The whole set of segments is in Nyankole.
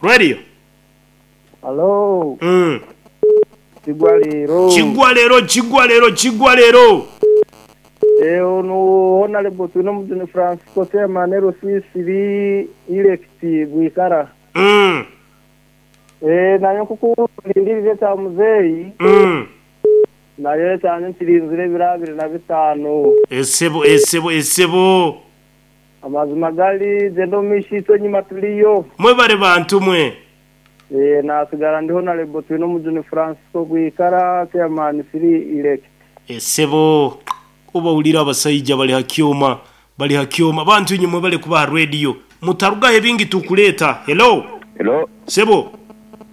Radio. Halo. Kigwa leero. Kigwa leero, kigwa leero, kigwa leero. Eh, ono Honorable Twinomujuni Francisco Chairman LC3 elect Bwikara. Eh, naye nkukulindirira ekya muzeeyi. Naye ekyangye nkirinzire ebiro 25. Esebo, esebo, esebo. Amazima gari gyenda omu maisho itwe enyima turiyo. Mwebare bantu mwe. Eh, nasigara ndi Honorable Twinomujuni Francisco Bwikara Chairman 3 elect. Esebo, obawulire abasaija bali ha kyoma, bali ha kyoma. Bantu inywe mwebale kuba ha radio. Mutarugaho ebingi tukuleeta. Hello. Hello. Sebo.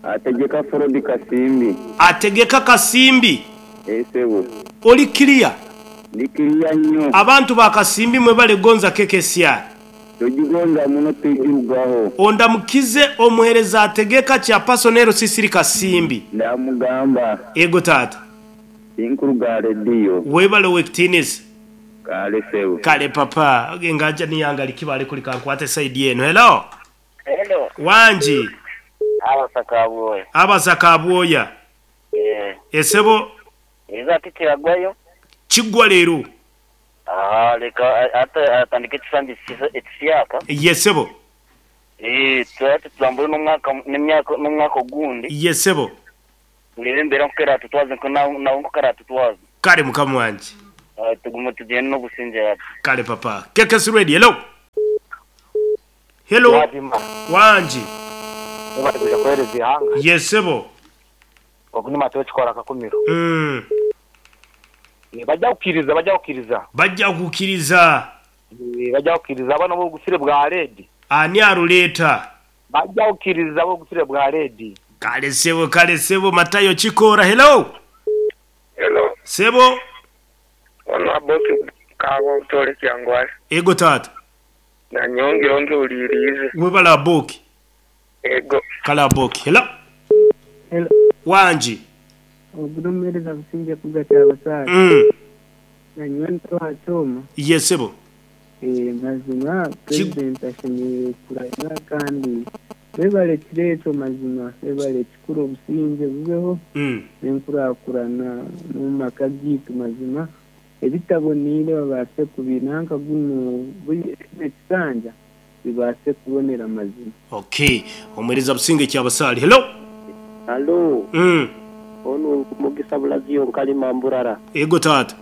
Ategeka Forodi Kasimbi. Ategeka Kasimbi. Eeh sebo. Oli clear? Ndi clear nnyo. Abantu ba Kasimbi mwebale gonza KKCR. Togigonza muno tigirugaho. Ondamukize omuhereza Ategeka Chairperson LC3 Kasimbi. Ndamugamba. Ego taata. Tinkuruga aha rediyo. Webale owekitiinisa. Kale sebo. Kale papa. Engaja niyange ali kuri kankwate side eno. Hello. Hello. Wangi. Abasa Kabwoya. Abasa Kabwoya. Eh. Esebo. Eriza ati kiragwayo. Kigwa leero. Aha, leka ate atandike ekisanja ekishyaka. Ye sebo. Eh, ati tutambure n'omwaka n'emyaka n'omwaka ogundi. Ye sebo. Tureebe embeera nkoku eratutwaze nko nawe nkoku aratutwaza. Kale mukama wangye. Tugume tugyende n'obusingye hati. Kale papa. KKC Radio, hello. Hello. Wangi. Webale kwija kuheereza eihanga. Ye sebo. Ogu ni Matayo Kikora Kakumiro. Bajja kukiriza, bajja kukiriza. Bajja kukiriza. Bajja kukiriza abana b'obusire bwa Redi. Ani aruleeta? Bajja kukiriza ab'obusire bwa Redi. Kale sebo, kale sebo. Matayo Kikoora, hello. Hello. Sebo. Ono Aboki Kaaba Obutore Kyangwali. Ego taata. Nanyongire onjuuririize. Webale Aboki. Ego. Kale Aboki. Hello. Hello. Wangi. Ogu n'omuheereza Busingye Kuga Kyabasaale. Nanyowe nto aha kyoma. Ye sebo. Mazima Purezidenti ashemereire kurahira kandi webare kiro ekyo mazima webare kikuru obusingye bubeho n'enkurakurana n'omu maka gaitu mazima ebitaboneire babaase kubinanka guno kinu ekisanja bibaase kubonera mazima. Okay. Omuheereza Busingye Kyabasaale. Hello. Halo. Onu Mugisa Bulaziyo Nkalima Mburara. Ego taata.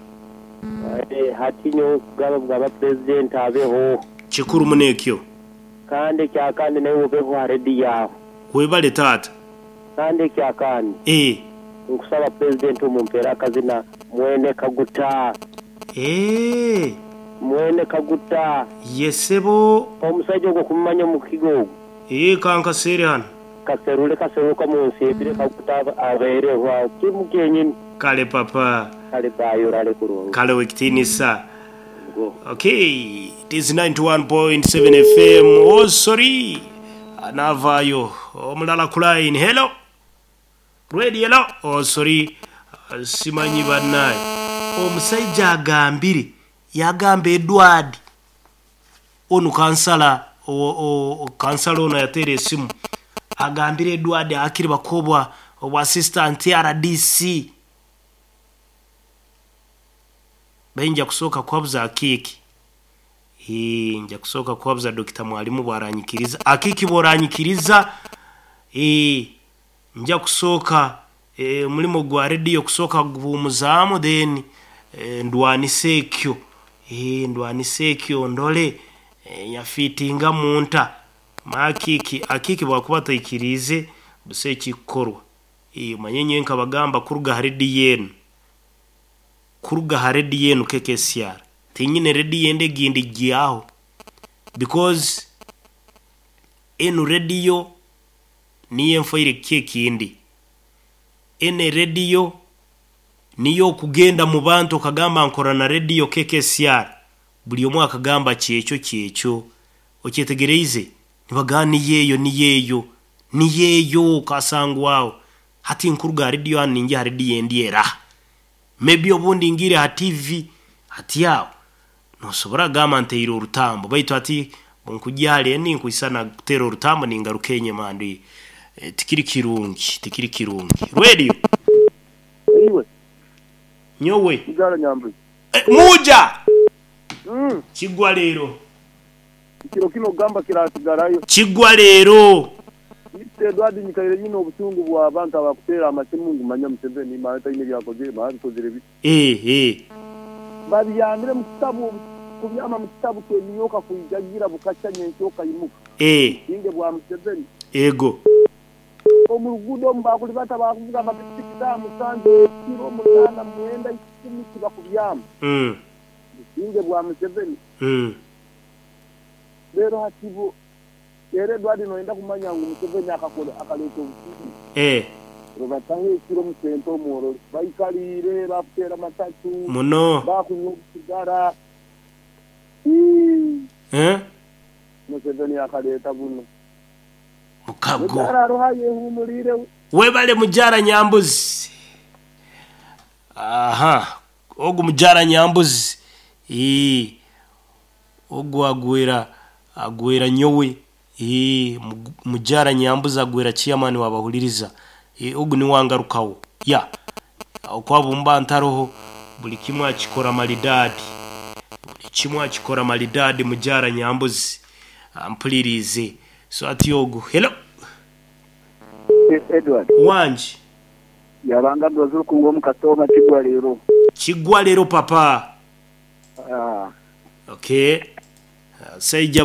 Hati nyowe kugaba bwaba Purezidenti abeho. Kikuru muno ekyo. Kandi ekyakandi naiwe obeho aha rediyo aho. Webale taata. Kandi ekyakandi. Nkusaba Purezidenti omumpeere akazina Mwene Kaguta. Mwene Kaguta. Ye sebo. Omusaija ogwo okumumanya omu kigo ogwo. Kankaseere hanu. Kaserule kaseruka omunsi ebire Kaguta abeereho aho kimu kyenyini. Kale papa. Kale baayi orare kurungi. Kale owekitiinisa. Okay, it is 91.7 FM. Oh sorry. Naavaayo. Omulala ku line. Hello. Radio hello. Oh sorry. Simanyi banaye. Omusaija agambire yagamba Edward onu kansala kansala ono yateera esimu agambire Edward akiri bakobwa obwa assistant RDC Bainja kusooka kuhabuza Akiiki. Eeh, nja kusooka kuhabuza Dokita Mwalimu bw'aranyikiriza. Akiiki bw'oranyikiriza, eeh, nja kusooka eh, omurimo gwa rediyo kusooka kuguhuumuzaamu then eh, ndwanise ekyo. Eeh, ndwanise ekyo ndore eh, nyafiitingamu nta. Manya Akiiki, Akiiki bw'akuba ataikiriize, busa ekikukorwa. Eeh, omanye nyowe nkabagamba kuruga aha rediyo enu. Kuruga aha rediyo enu KKCR tinyine rediyo endi egindi gyaho because enu rediyo niyo enfoire kiki ekindi. Enu erediyo niyo okugenda mu bantu okagamba nkora na rediyo KKCR buri omwe akagamba kyekyo kyekyo. Okyetegereize? Nibagamba niyo eyo niyo eyo niyo eyo okasangwa aho. Hati nkuruga aha rediyo hanu ningya aha rediyo endi eraha? Maybe obundi ngiire aha TV hati aho nosobora kugamba nteire orutambo baitu hati Bunkugya hare ninkwisa nakuteera orutambo ningaruka enyima ndi tikiri kirungi tikiri kirungi. Radio. Iwe. Nyowe. Mujara Nyambuzi. Muja! Kigwa leero. Ekiro kinu okugamba kirasigarayo. Kigwa leero. Mister Edward nyikaire nyine obusungu bw'abantu abakuteera amasimu ngu manya Museveni manya taine ebyakozire manya bikozire bi. Eh eh. Babyamire mu kitabu kubyama mu kitabu ky'emiyoka kwijagira bukakya nyenkya okaimuka. Eh. Businge bwa Museveni. Ego. Omu ruguudo omu baakulibata baakuvuga amapikipiki saaha musanju ekiro, munaana, mwenda, ikumi tibakubyama. Businge bwa Museveni. Reero hati bo reero Edward noyenda kumanya ngu Museveni akakora akaleeta obusinge. Rubataho ekiro omu senta omu orore baikariire bakuteera amatatu, Muno. bakunywa obusigara. Hii! Museveni akaleeta buno. Mukago. Mukyara aroho ayehumuriire we. Webale mugyara Nyambuzi. Aha, ogu mugyara Nyambuzi. Ii, ogu agwera agwera nyowe. Ii, mugyara Nyambuzi agwera chairman wa Bahuliriza. Ii, ogu niwe angarukaho. Ya, oku bumba ntaroho buli kimwe akikora maridadi. Buli kimwe akikora maridadi mugyara Nyambuzi. Ampuliriize. So ati ogu. Hello. Edward. Wangi. Yabanga Dozi Rukungu omu Katooma Kigwa leero. Kigwa leero papa. Ah. Okay. Saija.